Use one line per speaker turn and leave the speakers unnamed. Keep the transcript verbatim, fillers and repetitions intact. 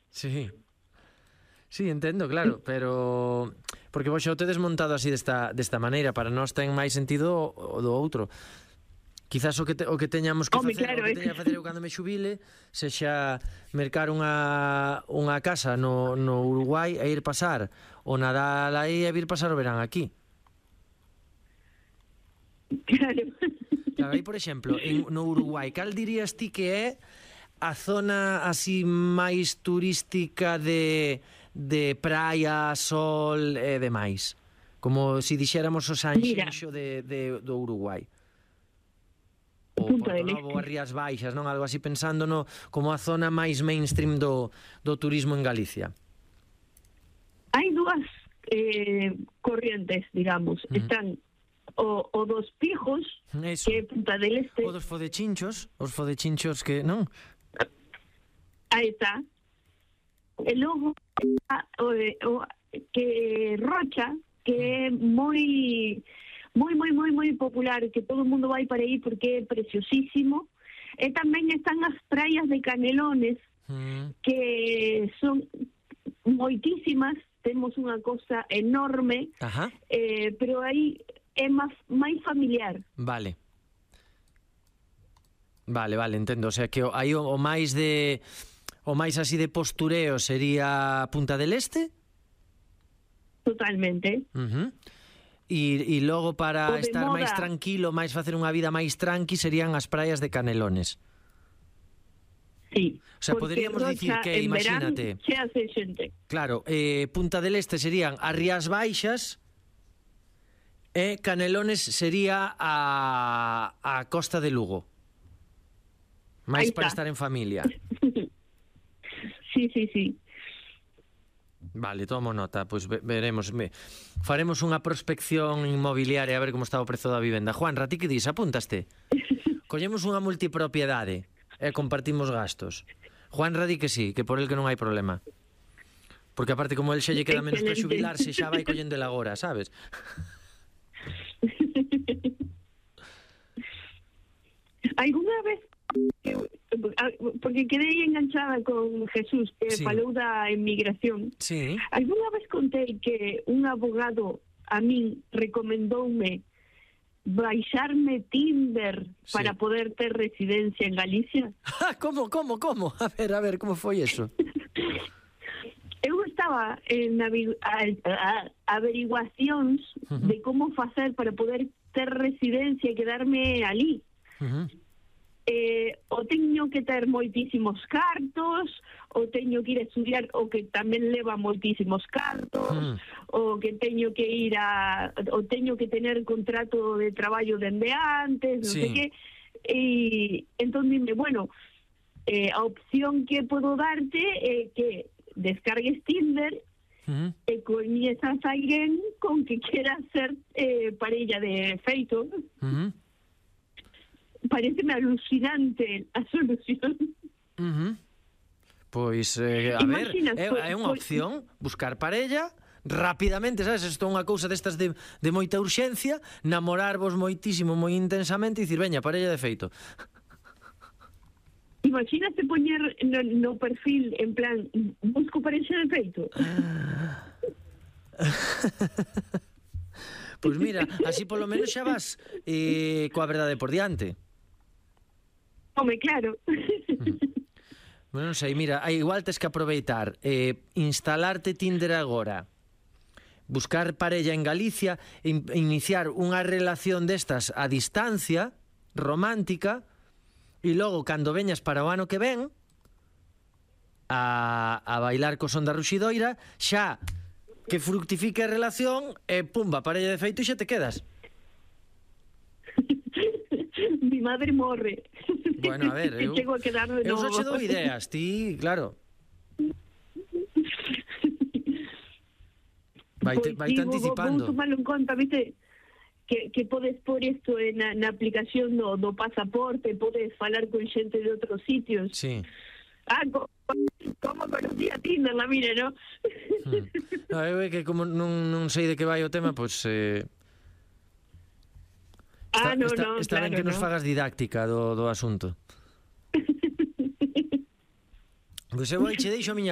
Sí. Sí, entendo, claro, pero porque vos xa o tedes montado así desta, desta maneira, para nós ten máis sentido o, o do outro. Quizás o que, te, o que teñamos que
Home,
facer,
claro,
o que
é
teña
que-
que facer eu cando me xubile, sexa mercar unha, unha casa no, no Uruguai e ir pasar o Nadal aí e vir pasar o verán aquí.
Claro.
Claro, aí, por exemplo, en, no Uruguai, cal dirías ti que é a zona así máis turística de, de praia, sol e demais? Como se si dixéramos o Sanxenxo de, de, do Uruguai. O
Punta
Porto
del
Novo,
Este.
as Rías Baixas, non? Algo así pensando no, como a zona máis mainstream do, do turismo en Galicia.
Hai dúas eh, corrientes, digamos.
Ujú.
Están o, o dos pijos,
Eso.
que é Punta del Este.
O dos fodechinchos, os fodechinchos que, non?
Aí está. E logo o, o, que Rocha, que é moi moi moi moi moi popular, que todo o mundo vai para aí porque é preciosísimo. E tamén están as praias de Canelones,
Mm.
que son moitísimas, temos unha cosa enorme,
Ajá.
eh, pero aí é máis máis familiar.
Vale. Vale, vale, entendo. O sea, que o- aí o, o máis de... O máis así de postureo sería Punta del Este.
Totalmente.
Uh-huh. E, e logo para
O de
estar máis
moda.
tranquilo, máis facer unha vida máis tranqui, serían as praias de Canelones.
Sí.
O sea,
porque
poderíamos dicir
Rocha
que,
en verán
imagínate,
se hace xente.
claro, eh, Punta del Este serían as Rías Baixas e Canelones sería a, a Costa de Lugo. Máis
Aí
para
está.
estar en familia.
Sí, sí, sí.
Vale, tomo nota, pois pues veremos, me, faremos unha prospección inmobiliaria a ver como está o prezo da vivenda. Juan, ti que dis, apúntaste? Collemos unha multipropiedade e compartimos gastos. Juan di que sí, que por el que non hai problema. Porque aparte como el xa lle queda menos para
Excelente.
xubilarse, xa vai collendo el agora, sabes?
Alguna vez, porque quedei enganchada con Jesús, que
Sí.
falou da emigración,
Sí.
alguna vez contei que un abogado a min recomendoume baixarme Tinder
Sí.
para poder ter residencia en Galicia.
Como, como, como? A ver, a ver, como foi eso?
Eu estaba en avi- a- a- averiguacións
Ujú.
de como facer para poder ter residencia e quedarme ali.
Uh-huh.
Eh, o teño que ter moitísimos cartos, o teño que ir a estudiar, o que tamén leva moitísimos cartos,
Mm.
o que teño que ir a, o teño que tener contrato de traballo dende antes, non
Sí.
sei que. E entón dime, bueno, eh, a opción que podo darte é que descargues Tinder
Uh-huh.
e coñezas a alguén con que quieras ser eh, parella de feito.
Uh-huh.
Pareceme alucinante a solución.
Uh-huh. Pois, eh, a ver,
Imaginas,
é,
pois-
é unha
pois-
opción buscar parella rapidamente, sabes? Isto é unha cousa destas de, de moita urxencia, namorarvos moitísimo, moi intensamente e dicir, veña, parella de feito.
Imagínate poñer no, no perfil en plan busco parexa de feito.
Pois mira, así polo menos xa vas eh, coa verdade por diante.
Home, claro.
Bueno, non sei, mira, aí igual tes que aproveitar, eh, instalarte Tinder agora, buscar parella en Galicia, in, iniciar unha relación destas a distancia, romántica, e logo, cando veñas para o ano que ven, a, a bailar co son da ruxidoira, xa que fructifique a relación, e pumba, parella de feito e xa te quedas.
Mi madre morre.
Bueno, a ver, eu,
Chego a quedar de
eu
novo.
só che dou ideas, ti, claro. Vaite,
Pois
vaite
sí, vou-
anticipando.
Vou tomarlo en conta, viste, que, que podes por isto na, na aplicación do, do pasaporte, podes falar con xente de outros sitios.
Sí.
Ah, como, como conocí a Tinder, la mire, ¿no?
Hmm. No, eu é que como non, non sei de que vai o tema, pois... Eh,
ah,
está,
no,
está,
no,
está
claro,
ben que nos
no.
fagas didáctica do, do asunto. Pois eu aí che deixo a miña